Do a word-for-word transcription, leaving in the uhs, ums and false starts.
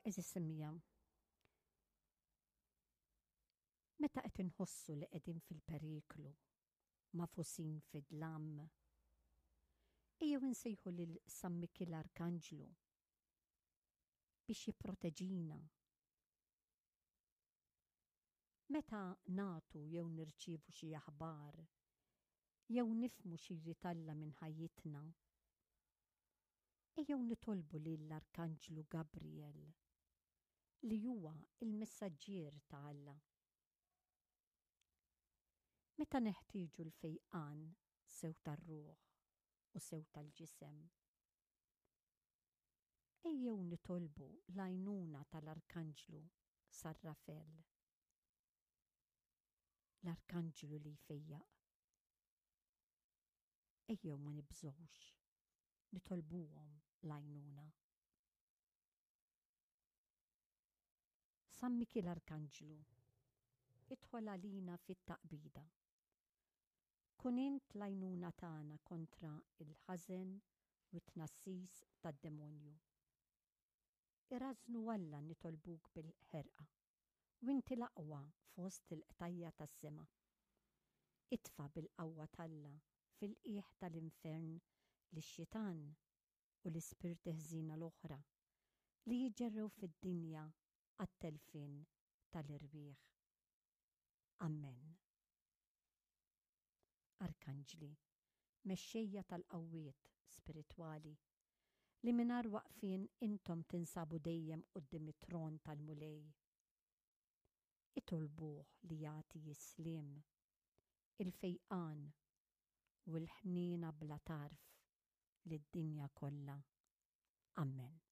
Għeżież semmiegħa, meta qed inħossu li qegħdin fil-periklu, magħfusin fid-dlam, ejjew insejħu lil San Mikiel Arkanġlu biex jipproteġina. Meta nagħtu jew nirċievu xi aħbar jew nifhmu xi jrid Alla minn ħajjitna, ejjew nitolbu lill-Arkanġlu Gabriel li huwa l-messaġġier ta' Alla. Meta neħtieġu l-fejqan sew tar-ruħ u sew tal-ġisem, ejjew nitolbu l-għajnuna tal-Arkanġlu San Rafel, l-Arkanġlu li jfejjaq. Ejjew ma nibżgħux nitolbuhom l-għajnuna. San Mikiel Arkanġlu, idħol għalina fit-taqbida. Kun int l-għajnuna tagħna kontra l-ħażen u t-tnassis tad-demonju. Irażżnu Alla nitolbuk bil-ħerqa, u inti l-aqwa fost il-qtajja' tas-sema. Itfa' bil-qawwa t'Alla fil-qiegħ tal-infern lix-xitan u l-ispirti ħżiena l-oħra li jiġġerrew fid-dinja għat-telfien tal-irwieħ. Ammen. Arkanġli, mexxejja tal-qawwiet spiritwali, li mingħajr waqfien intom tinsabu dejjem quddiem it-tron tal-Mulej, itolbuh li jagħti s-sliem, il-fejqan u l-ħniena bla tarf lid-dinja kollha. Ammen.